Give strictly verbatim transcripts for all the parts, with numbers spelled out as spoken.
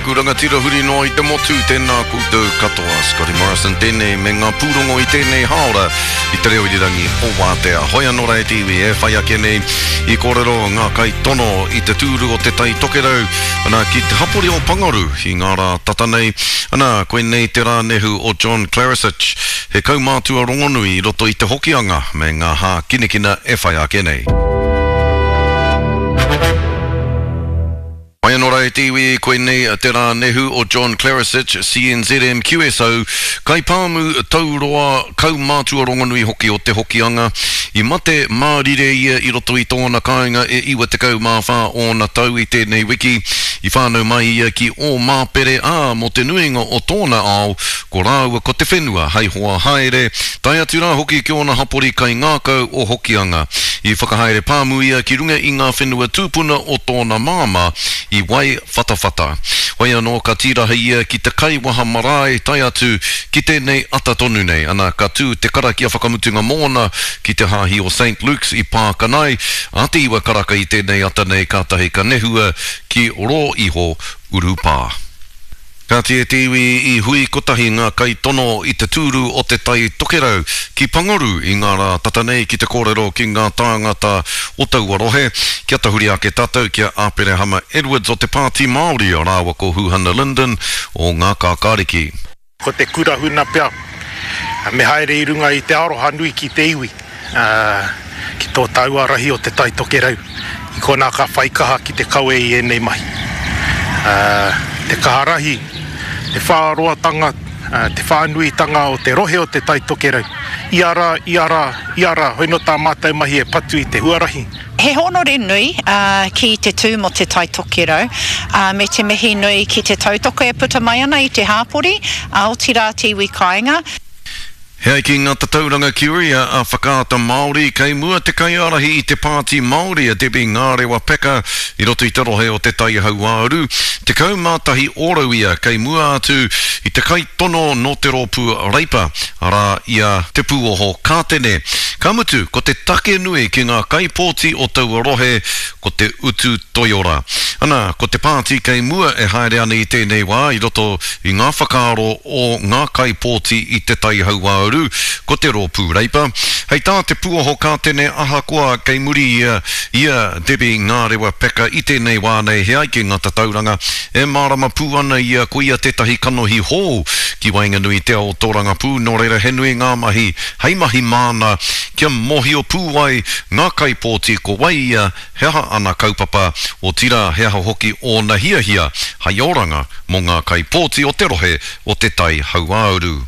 aku rangatira huri noa i te motu, tēnā koutou katoa. Scotty Morrison tēnei me ngā pūrongo i tēnei hāora i te reo irirangi o Wātea. Hoi anō rā e te iwi e whai ake nei i kōrero ngā kaitono i te tūru o Te Tai Tokerau ana ki te hapori o Pangaru i ngā rā tata nei. Ana, koinei te rā nehu o John Klaricich, he kaumātua rongonui i roto i te Hokianga me ngā hākinakina e whai ake nei. Mai anō rā e te iwi, koinei te rā nehu o John Klaricich, C N Z M Q S O, kaipāmu tauroa, kaumātua rongonui hoki o Te Hokianga. I mate mārire ia i roto i tōna kāinga e iwa tekau mā whā ōna tau i tēnei wiki. I whānau mai ia ki Ōmāpere, ā, mō te nuinga o tōna ao, ko rāua ko te whenua hei hoa haere, tae atu rā hoki ki ōna hapori kaingākau o Hokianga. I whakahaere pāmu ia ki runga i ngā whenua tūpuna o tōna māmā, i Waiwhatawhata. Whai anō ka tīraha ia ki te kaiwaha marae tae atu ki tēnei ata tonu nei. Ana, ka tū te karakia whakamutunga mōna ki te hāhi o Saint Luke's i Pākanai, a te iwa karaka i tēnei ata nei kātahi ka nehua ki rō iho urupā. Kāti e te iwi i hui kotahi ngā kaitono i te tūru o Te Tai Tokerau ki Pangaru i ngā rā tata nei ki te kōrero ki ngā tāngata o taua rohe. Kia tahuri ake tātou ki a Aperehama Edwards o te Pāti Māori rāua ko Huhana Lyndon o Ngā Kākāriki. Ko te kura huna pea, me haere i runga i te aroha nui ki te iwi, ki tō tāua rahi o Te Tai Tokerau, i konā ka whai kaha ki te kawe i ēnei mahi. Te kaha rahi, te whāroatanga, te whānuitanga o te rohe o Te Tai Tokerau. Ia rā, ia rā, ia rā, hoi nō tā mātou mahi e patu i te huarahi. He hōnore nui ki te tū mō Te Tai Tokerau, me te mihi nui ki te tautoko e puta mai ana i te hāpori, otirā te iwi kāinga. He ai ki ngā tatauranga Curia a Whakaata Māori, kei mua te kaiārahi i te Pāti Māori a Debbie Ngārewa Peka i roto i te rohe o Te Tai Hauāuru. Tekau mā tahi ōrau ia kei mua atu i te kaitono nō te rōpū Reipa, arā i a Te Pūoho Kātene. Ka mutu, ko te take nui ki ngā kaipōti o taua rohe, ko te utu toiora. Ana, ko te pāti kei mua e haere ana i tēnei wā i roto i ngā whakaaro o ngā kaipōti i Te Tai Hauāuru, ko te rōpū Reipa. Hei tā Te Pūoho Kātene ahakoa kei muri ia, ia Debbie Ngārewa Peka i tēnei wā nei he ai ki ngā tatauranga, e mārama pū ana ia ko ia tētahi kanohi hou ki waenganui te ao tōrangapū, nō reira he nui ngā mahi hei mahi māna kia mōhio pū ai ngā kaipōti ko wai ia, he aha ana kaupapa, otirā he aha hoki ōna hiahia hei oranga mō ngā kaipōti o te rohe o Te Tai Hauāuru.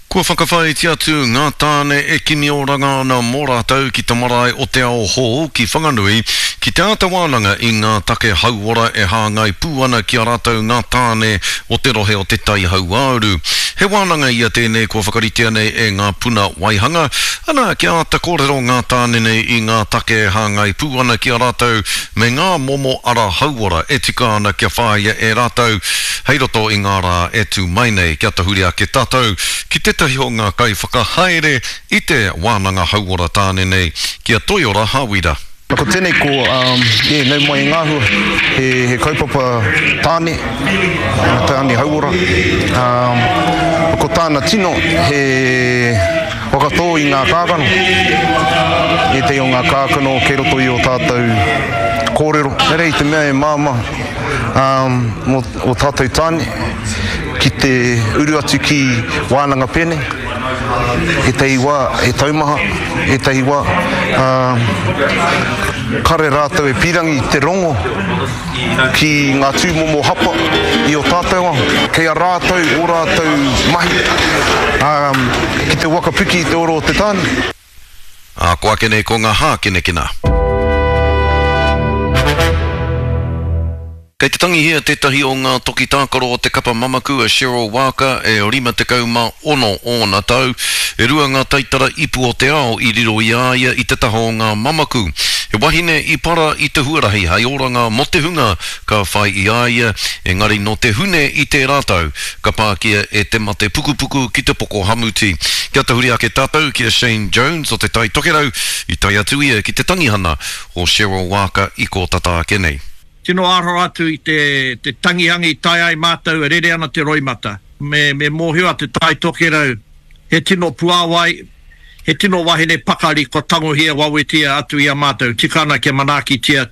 Kua whakawhāiti atu ngā tāne e kimi oranga ana mō rātou ki te marae o Te Ao Hou ki Whanganui, ki te āta wānanga i ngā take hauora e hāngai pū ana ki a rātou ngā tāne o te rohe o Te Tai Hauāuru. He wānanga ia tēnei kua whakaritea nei e ngā puna waihanga, ana kia āta kōrero ngā tāne nei i ngā take e hāngai pū ana ki a rātou me ngā momo ara hauora e tika ana kia whāia e rātou hei roto i ngā rā e tū mai nei. Kia tahuri ake tātou ki tētahi o ngā kaiwhakahaere i te wānanga hauora tāne nei, ki a Toiora Hawira. Ko tēnei ko, um, yeah, nau mai i ngā hua, he, he kaupapa tāne, tāne hauora. Um, ko tāna tino, he whakatō i ngā kākano. Ētahi o ngā kākano kei roto i o tātou kōrero. Nā reira i te mea e māmā, um, mō o tātou tāne, ki te uru atu ki wānanga pēnei. Ētahi wā, he taumaha, ētahi wā, um, kare rātou e pīrangi te rongo ki ngā tūmomo hapa i o tātou ao. Kei a rātou, o rātou mahi, um, ki te waka piki i te oro o te tāne. Ā, ko ake nei ko ngā hākinakina. Kei te tangihia tētahi o ngā toki tākaro o te kapa mamaku a Cheryl Waaka e rima tekau mā ono ōna tau. E rua ngā taitara ipu o te ao i riro i a ia i te taha o ngā mamaku. He wahine i para i te huarahi hei oranga mō te hunga ka whai i a ia, engari nō te hune i tērā tau, ka pākia e te mate pukupuku ki te poko hamuti. Kia tahuri ake tātou ki a Shane Jones o Te Tai Tokerau, i tae atu ia ki te tangihana o Cheryl Waaka i kō tata ake nei. Tino aroha atu i te, te tangihanga i tae ai mātou e rere ana te roimata. Me, me mōhio a Te Tai Tokerau, he tino puāwai, he tino wahine pakari kua tangohia wawetia atu i a mātou, tika ana kia manaakitia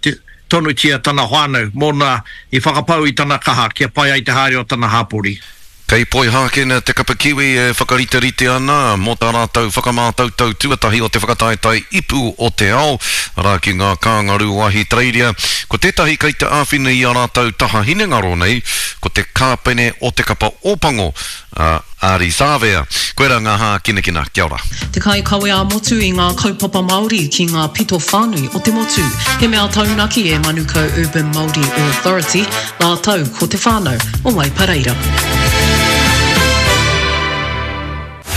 tonutia tana whānau mōna i whakapau i tana kaha kia pai ai te haere o tana hāpori. Kei Poihākena te kapa Kiwi e whakariterite ana mō tā rātou whakamātautau tuatahi o te whakataetae Ipu o te Ao, arā ki ngā Kāngarū o Ahitereiria. Ko tētahi kei te āwhina i a rātou taha hinengaro nei, ko te kāpene o te kapa Ōpango, a Ardie Savea. Koirā ngā hākinakina. Kia ora. Te kaikawe ā-motu i ngā kaupapa Māori ki ngā pito whānui o te motu. He mea taunaki e Manukau Urban Māori Authority rātou ko te whānau o Waipareira.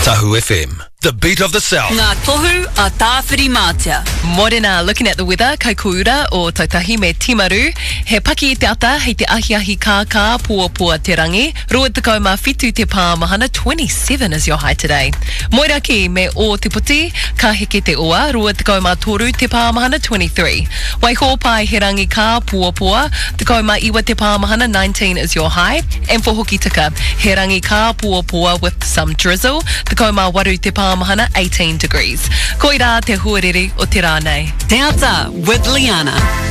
Tahu FM, the beat of the South. Ngā tohu a Tāwhirimātea. Morena, looking at the weather, Kaikōura, Ōtautahi me Timaru. He paki i te ata, hei te ahiahi kākā, poapoa te rangi. Rua tekau mā whitu te pāmahana, twenty seven is your high today. Moeraki me Ōtepoti, ka heke te ua, rua tekau mā toru te pāmahana, twenty three. Waihōpai, he rangi kā, poapoa, tekau mā iwa te pāmahana, nineteen is your high. And for Hokitika, he rangi kā, poapoa with some drizzle, tekau mā waru te pāmahana, eighteen degrees. Koirā te huarere o te rā nei. Te Ata with Liana.